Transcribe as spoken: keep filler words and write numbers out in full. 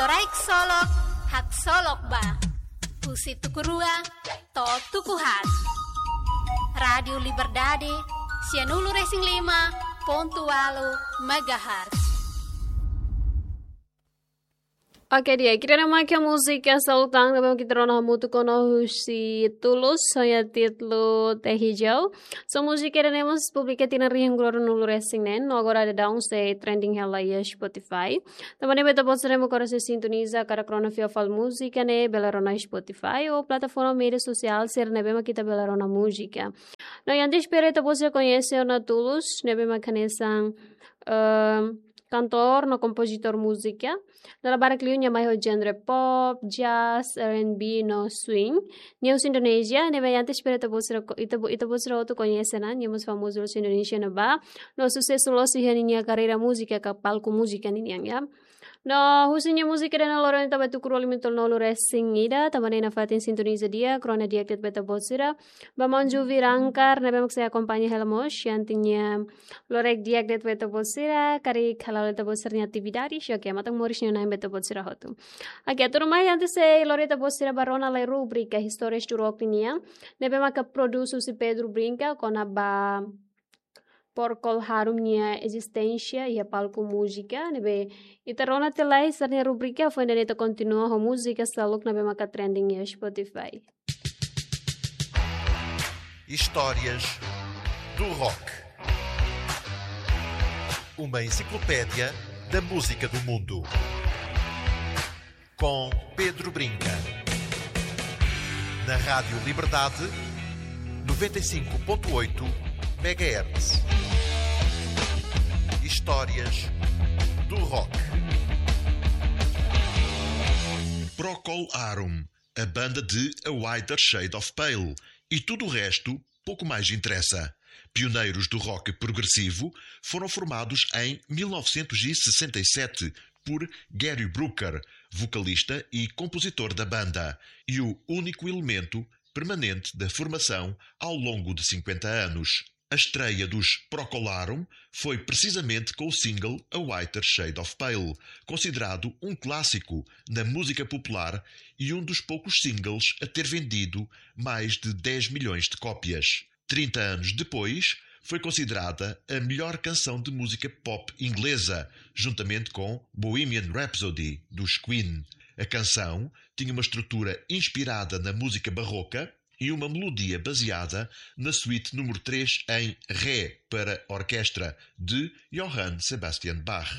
Loraik solok, haksolok ba. Husi tuku rua to'o tuku haat. Rádiu Liberdade, sianulu-resin-lima pontu ualu megahertz. Oke, di'ak, ida-ne'e mak múzika Salutang, ne'ebé mak ita rona hamutuk ona husi Tulus, ho nia títulu Teh Hijau. So, múzika ida-ne'e mós publika tinan rihun rua ruanulu-resin-neen, no agora daudaun sei trending hela iha Spotify. Tanba ne'e ba ita-boot sira ne'ebé mak sei sintoniza karik rona fila fali múzika ne'e, bele rona Spotify ou plataforma média sosiál sira ne'ebé mak ita bele rona múzika. No, antes para ita-boot sira koñese ona Tulus, ne'ebé mak hanesan, ehm, kantór no kompozitór múzika. Dala barak liu nia mai ho genre pop, jazz, R and B no swing. Nia husi Indonézia, ne'ebé antes para ita-boot sira ko-, ita-bo-, ita-boot sira hotu koñese ona, nia mós famozu husi Indonézia ne'ebá. No susesu loos iha ninia karreira múzika ka palku múzika ninian, ya. No, husi nia múzika ida-ne'e loroloron ita ba tuku rua lima tolu nulu resin ida, tanba ne'e nafatin sintoniza di'ak, rona di'ak de'it ba ita-boot sira. Ba Manju Virangkar, ne'ebé mak sei akompaña hela mós, antes nia loroloron di'ak de'it ba ita-boot sira, karik hala'o ita-boot sira-nia atividade, xoke matan moris nia nain ba ita-boot sira hotu. Oke, tuirmai antes sei lori ita-boot sira ba rona lai rubrika Histórias do Rock nian, ne'ebé maka produs husi Pedro Brinca, kona-ba Procol Harum nia ezisténsia iha palku múzika, ne'ebé ita rona tiha lai sira-nia rubrika, foin duni ita kontinua ho múzika seluk ne'ebé maka trending iha Spotify. Histórias do Rock. Uma enciclopédia da música do mundo. Com Pedro Brinca. Na Rádio Liberdade, noventa e cinco ponto oito megahertz. Histórias do Rock. Procol Harum, a banda de A Whiter Shade of Pale e tudo o resto pouco mais interessa. Pioneiros do rock progressivo, foram formados em mil novecentos e sessenta e sete por Gary Brooker, vocalista e compositor da banda, e o único elemento permanente da formação ao longo de cinquenta anos. A estreia dos Procol Harum foi precisamente com o single A Whiter Shade of Pale, considerado um clássico na música popular e um dos poucos singles a ter vendido mais de dez milhões de cópias. Trinta anos depois, foi considerada a melhor canção de música pop inglesa, juntamente com Bohemian Rhapsody, dos Queen. A canção tinha uma estrutura inspirada na música barroca e uma melodia baseada na suíte número três em Ré para orquestra, de Johann Sebastian Bach.